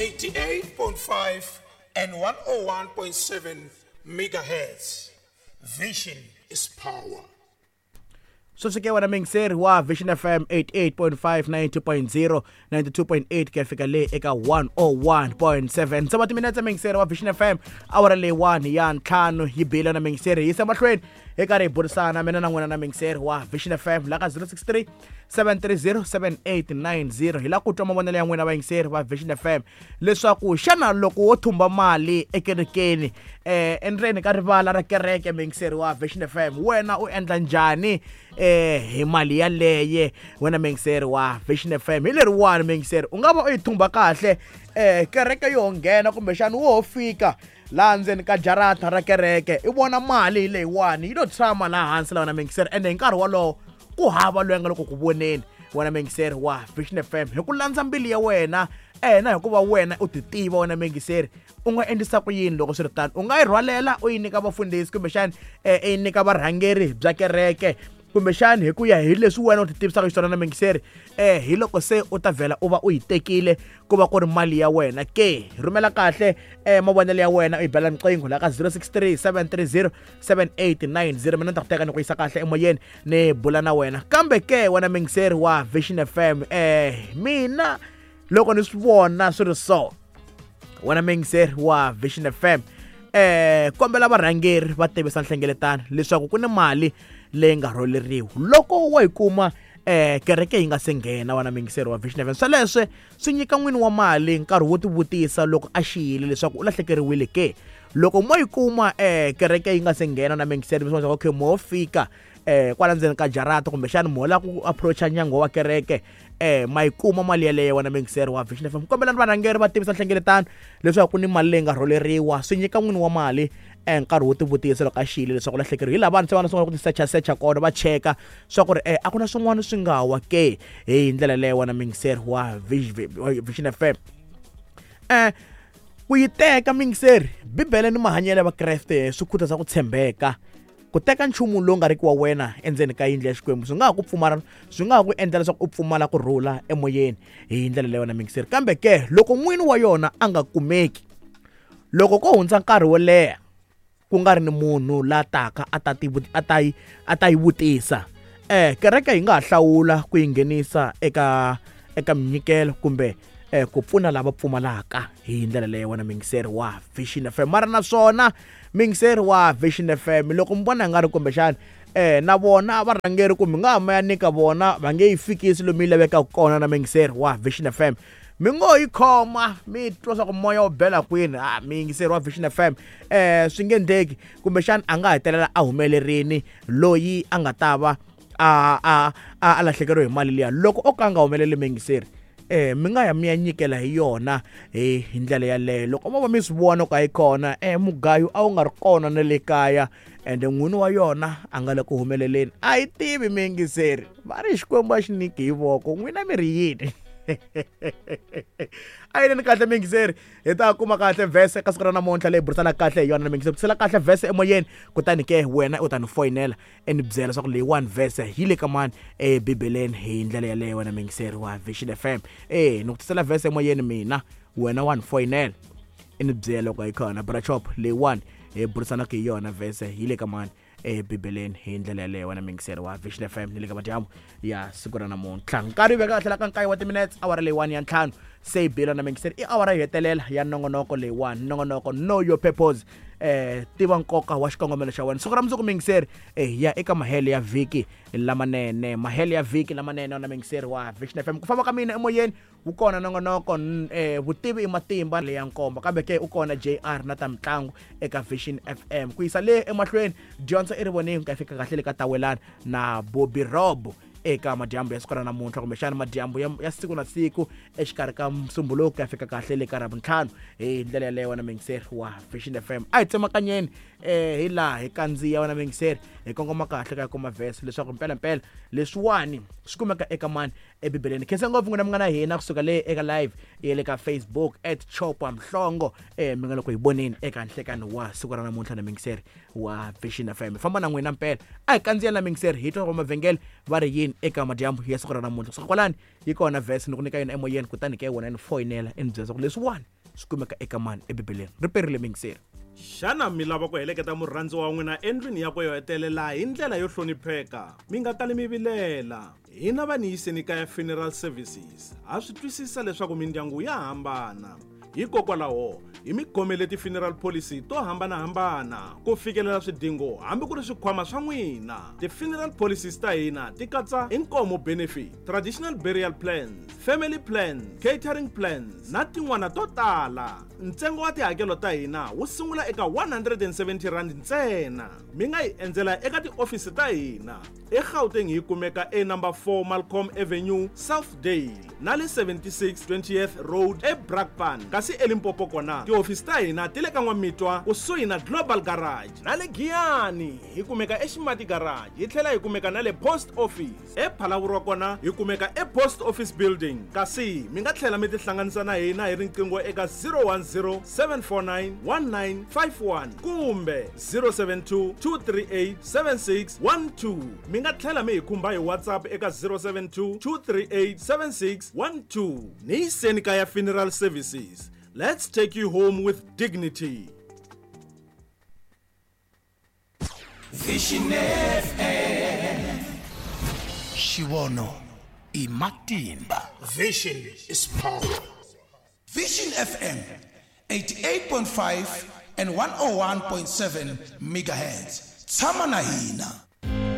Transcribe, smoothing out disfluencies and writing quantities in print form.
88.5 and 101.7 megahertz. Vision is power. Sweswi ke wena mingiseri wa Vision FM 88.5, 90.0, 92.8 ku ya fika le eka 101.7, nsava timinetse, mingiseri wa Vision FM, awara leyi 1 ya 5 yi bile na mingiseri. Yisa mahlweni hi karhi hi burisana mina na n'wina na mingiseri wa Vision FM la ka 063 730 7890. Hi la ku twa mavonelo ya n'wina vayingiseri va Vision FM leswaku xana loko wo thumba mali ekerekeni, endzeni ka rivala ra kereke, mingiseri wa Vision FM, wena u endla njhani hi mali yaleye wena mingiseri wa Vision FM? Hi leriwani mingiseri, u nga va u yi thumba kahle, kereke yo nghena, kumbexana wo fika laha ndzeni ka jarata ra kereke, i vona mali hi leyiwani yi lo tshama laha hansi la wena mingiseri, ende hi nkarhi wolowo ku hava loyi a nga loko ku voneni wena mingiseri wa Vision FM. Hi ku landza mbilu ya wena na hikuva wena u ti tiva wena mingiseri, u nga endlisa ku yini loko swi ri tano? U nga yi rhwalela u yi nyika vafundhisi, kumbexani i yi nyika varhangeri bya kereke, kumbexani hi ku ya hi leswi wena u ti tivisaka xiswona na mingiseri, hi loko se u ta vhela u va u yi tekile ku va ku ri mali ya wena ke? Rhumela kahle mavonelo ya wena, u yi bela riqingho la ka 063 730 7890. Mina ni ta ku teka ni ku yisa kahle emoyeni, ni bula na wena. Kambe ke wena mingiseri wa Vision FM, mina loko ni swi vona swi ri so, wena mingiseri wa Vision FM, kombela varhangeri va tivisa nhlengeletano leswaku ku ni mali leyi nga rholeriwa. Loko wo yi kuma kereke yi nga se nghena, wena mingiseri wa Vision FM, sweleswe swi nyika n'wini wa mali nkarhi wo tivutisa loko a xiyile leswaku u lahlekeriwile ke. Loko mo yi kuma kereke yi nga se nghena na mingiseri, mi swi okay, mo fika kwala ndzeni ka jarata, kumbexani mo la ku approacha nyangwa wa kereke, ma yi kuma mali yeleyo wena mingiseri wa Vision FM, kombelani varhangeri va tivisa nhlengeletano leswaku ku ni mali leyi nga rholeriwa. Swi nyika n'wini wa mali nkarhi wo tivutisa loko a xiyile leswaku lahlekeriwa. Hi laha vanhu se va na sungula ku ti secha secha kona, va cheka swa ku ri a ku na swin'wana swi nga wa ke. Hi ndlela leyo wena mingiseri wa Vision FM, ku yi teka mingiseri, Bibele ni mahanyelo ya Vakreste swi khutaza ku tshembeka. Ku teka nchumu lowu nga riki wa wena endzeni ka yindlu ya Xikwembu swi nga ha ku pfumala, swi nga ha ku endla leswaku u pfumala ku rhula emoyeni hi ndlela leyo wena mingiseri. Kambe ke loko n'wini wa yona a nga kumeki, loko ko hundza nkarhi wo leha ku nga ri ni munhu la taka a ta ti a ta yi a ta yi vutisa, kereke yi nga ha hlawula ku yi nghenisa eka minyikelo kumbe ku pfuna lava pfumalaka hi ndlela leyo wena mingiseri wa Vision FM. Mara naswona mingiseri wa Vision FM, loko mi vona nga ri kumbexani na vona varhangeri kumbe nga ha ma ya nyika vona, va nge yi fikisi lomu yi lavekaka kona na mingiseri wa Vision FM, mi ngo yi khoma, mi twa swa ku moya wu bela kwini. A miyingiseri wa Vision FM, swi nge ndleki, kumbexani a nga hetelela a humelerini loyi a nga ta va a lahlekeriwe hi mali liya. Loko o ka a nga humeleli miyingiseri, mi nga ya mi ya nyikela hi yona hi ndlela yaleyo. Loko mo va mi swi vona ku a yi kona, mugayo a wu nga ri kona na le kaya, ende n'wini wa yona a nga le ku humeleleni, a yi tivi miyingiseri, va ri Xikwembu a xi nyiki hi voko. N'wina mi ri yini? A yi ni kahle miyingiseri, hi ta kuma kahle vhese ka siku ra namuntlha leyi burisanaka kahle hi yona na miyingiseri. Tisela kahle vhese emoyeni, kutani ke wena u ta ni foyinela e ni byela leswaku leyiwani vhese yi le ka mani ebibeleni hi ndlela yaleyo wena miyingiseri wa Vision FM. Ni ku tisela vhese emoyeni mina, wena wa ni foyinela i ni byela loko yi kona brachop leyiwani hi burisanaka hi yona, vhese yi le ka mani ebibeleni hi ndlela yaleyo wena mingiseri wa Vision FM. Ni le ka madyambu ya siku ra namuntlha, nkarhi veka kahle la ka 9 wa timinutes, awara leyiwani ya 5 se yi bile na mingiseri, i awara yo hetelela ya nongonoko leyiwani, nongonoko Know Your Purpose, tiva nkoka wa xikongomelo xa wena. Siku ra mundzuku mingiseri, hi ya eka mahele ya vhiki lamanene, mahele ya vhiki lamanene na mingiseri wa Vision FM. Ku famba ka mina emoyeni wu kona nongonoko Vutivi i Matimba leya nkombo, kambe ke u kona JR na ta mitlangu eka Vision FM. Ku yisa le emahlweni dyondzo i rivonini ku ya fika kahle le ka Tawelana na Bobby Rob eka madyambu ya siku ra namuntlha, kumbexana madyambu ya siku na siku exikarhi ka Musumbuluko ku ya fika kahle le ka Ravuntlhanu hi ndlela yaleyo wena mingiseri wa Vision FM. A hi tsemakanyeni hi laha hi kandziya wena mingiseri, hi kongoma kahle ka kuma vhese leswaku mpelampela leswiwani swi kumeka eka mani ebibeleni. Khensa ngopfu n'wina mi nga na hina kusuka le eka live ya le ka Facebook at Chopa Mhlongo, mi nga loko hi voneni eka nhlekani wa siku ra namuntlha na mingiseri wa Vision FM. Famba na n'wina mpela, a hi kandziya na mingiseri, hi twa mavhengele va ri yini eka madyambu ya siku ra namuntlha. Kusuka kwalani yi kona vhese ni ku nyika yona emoyeni, kutani ke wena ni foyinela i ni byela leswaku leswiwani swi kumeka eka mani ebibeleni ri perile mingiseri Xana mi lava ku heleketa murhandziwa wa n'wina endlwini yakwe yo hetelela hi ndlela yo hlonipheka? Mi nga kali mi vilela. Hina va Niyiseni Kaya Funeral Services ha swi twisisa leswaku mindyangu ya hambana. Hikokwalaho, hi mi khomele ti-funeral policy to hambana-hambana ku fikelela swidingo hambi ku ri swikhwama swa n'wina. Ti-funeral policies ta hina ti katsa inkomo benefit, traditional burial plans, family plans, catering plans na tin'wana to tala. Ntsengo wa tihakelo ta hina wu sungula eka R170 ntsena. Mi nga hi endzela eka tiofisi ta hina eGauteng hi kumeka e number 4 Malcolm Avenue, Southdale na le 76 20th Road eBrakpan. Kasi eLimpopo kona tihofisi ta hina ti le ka N'wamitwa kusuhi na Global Garage na le Giyani hi kumeka eXimati Garage hi tlhela hi kumeka na le Post Office. EPhalaborwa kona hi kumeka ePost Office Building kasi mi nga tlhela mi tihlanganisa na hina hi riqingho eka 010 749 1951 kumbe 072 238 7612. Mi nga tlhela mi hi khumba hi WhatsApp eka 072 238 7612. Niyiseni Kaya Funeral Services. Let's take you home with dignity. Vision FM. Xivono i matimba. Vision is power. Vision FM 88.5 and 101.7 megahertz. Tshama na hina.